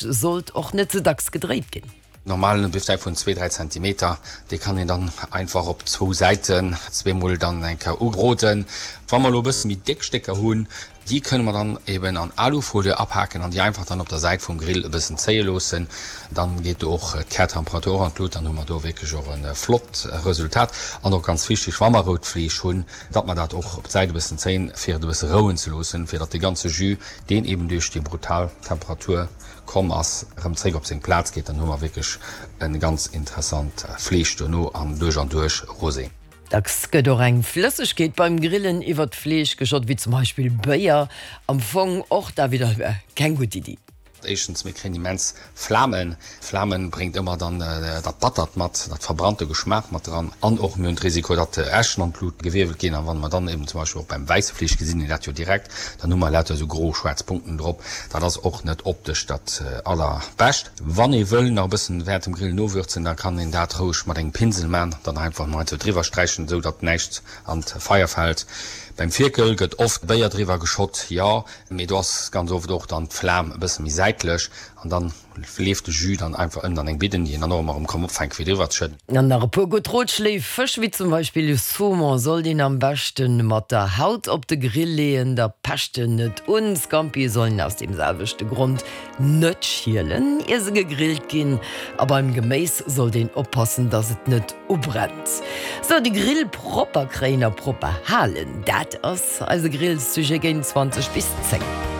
Sollt och net ze dacks gedréit ginn. Normalen Bifsteak vun zwee, dräi Zentimeter, dee kann een dann einfach op zwou Säiten zweemol dann eng Kéier ubroden. Wa mer elo e bësse méi déck Stécker hunn, déi kënne mer dann eben an Alufolie apaken an déi einfach dann op der Säit vum Grill e bëssen zéie loossen. Dann geet do och d'Kärtemperatur och an d'Lut, dann hu mer do wierklech och e flott Resultat. An och ganz wichteg, wa mer rout Fleesch hunn, datt mer dat och op d'Säit e bëssen zéien, fir et e bësse rouen ze loossen, fir datt dee ganze Jus, deen eben duerch déi brutal Temperatur komm ass, erëm zréck op seng Plaz geet, dann hu mer wierklech e ganz interessant Fleesch dono an duerch an duerch rosé. Dacks gëtt och eng Flëssegkeet beim Grillen iwwert d'Fleesch geschott, wéi zum Beispill Béier. Am Fong och da widder keng gutt Iddi. Éischtens, mir kréien immens Flamen. Flamen bréngt ëmmer dann dat Battert mat, dat verbrannte Geschmaach mat dran. An och mir hunn d'Risiko, datt Äschen an d'Blut gewierbelt ginn. An wann mer dann eben zum Beispill och beim wäisse Fleesch gesinn een dat jo direkt, dann hu mer lauter esou gro schwaarz Punkten drop. Dat ass och net optesch dat allerbescht. Wann ee wëll nach e bëssen während dem Grillen nowürzen, da kann een dat roueg mat engem Pinsel man, dann einfach nach esou driwwer sträichen, esou datt näischt an d'Feier fält. Beim Fierkel gëtt oft Béier driwwer geschott, jo. Mee do ass ganz oft och dann d'Flam e bësse méi säitlech an dann leeft de Jus dann einfach ënnen an eng Bidden, déi een dann och ëmmer erëm kann opfänken fir driwwer ze schëdden. An nach e puer gutt Rotschléi, Fësch wéi zum Beispill Saumon sollt een am beschten mat der Haut op de Grill leeën, da pecht en net un. Scampie sollen aus deem selwechte Grond net schielen ier se gegrillt ginn. A beim Geméis sollt een oppassen, dass et net ubrennt. Sou, de Grill propper kréien a propper halen, dat ass eise Grillsujet géint 20 bis 10.